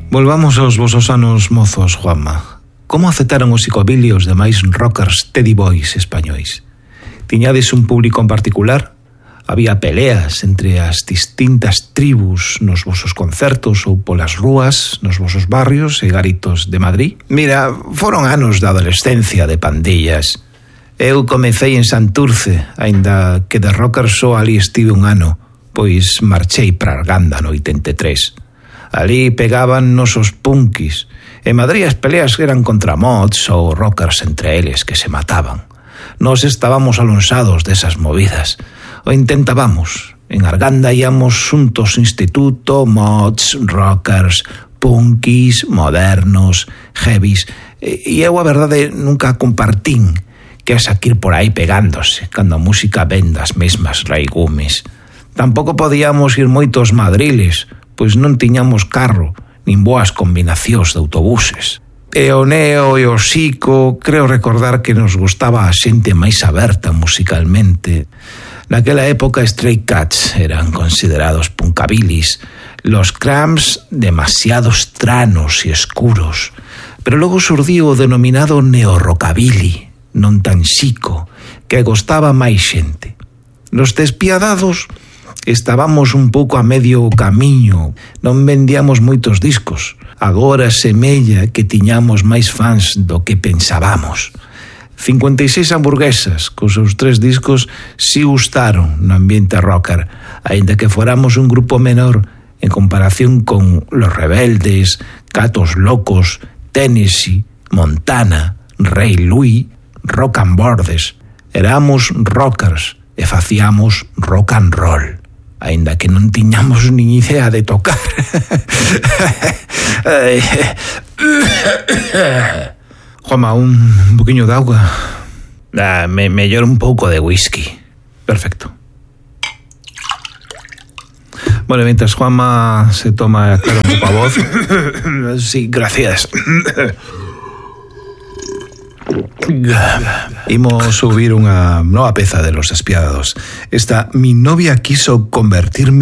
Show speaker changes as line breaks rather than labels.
Volvamos aos vosos anos mozos, Juanma. Como aceptaron os psicobilly os demais rockers Teddy Boys españois? Tiñades un público en particular? Había peleas entre as distintas tribus nos vosos concertos ou polas rúas, nos vosos barrios e garitos de Madrid? Mira, foron anos da adolescencia de pandillas. Eu comecei en Santurce, aínda que de rocker só ali estive un ano, pois marchei para Arganda no 83. Ali pegaban nosos punkis. En Madrid as peleas eran contra mods ou rockers entre eles que se mataban. Nos estábamos alonsados desas movidas. O intentábamos. En Arganda íamos xuntos instituto, mods, rockers, punkis, modernos, heavies. E eu a verdade nunca compartín que é saquir por aí pegándose cando a música ven das mesmas raigumes. Tampouco podíamos ir moitos madriles, pois non tiñamos carro nin boas combinacións de autobuses. E o neo e o psico, creo recordar que nos gustaba a xente máis aberta musicalmente. Naquela época Stray Cats eran considerados punkabilis, los Cramps demasiado estranos e escuros, pero logo surdiu o denominado neo-rockabilly, non tan xico, que gostaba máis xente. Nos Despiadados estábamos un pouco a medio camiño, non vendíamos moitos discos. Agora semella que tiñamos máis fans do que pensábamos. 56 hamburguesas, cos seus 3 discos, si gustaron no ambiente rocker, aínda que foramos un grupo menor en comparación con Los Rebeldes, Gatos Locos, Tennessee, Montana, Rey Louis, Rock and Bordes. Éramos rockers e facíamos rock and roll, aínda que non tiñamos nin idea de tocar. Juanma, un poquinho de auga. Mellor un pouco de whisky. Perfecto. Bueno, mientras Juanma se toma, claro, un pouco a voz. Sí, gracias. Imos subir unha nova peza de Los Despiadados. Esta Mi novia quiso convertirme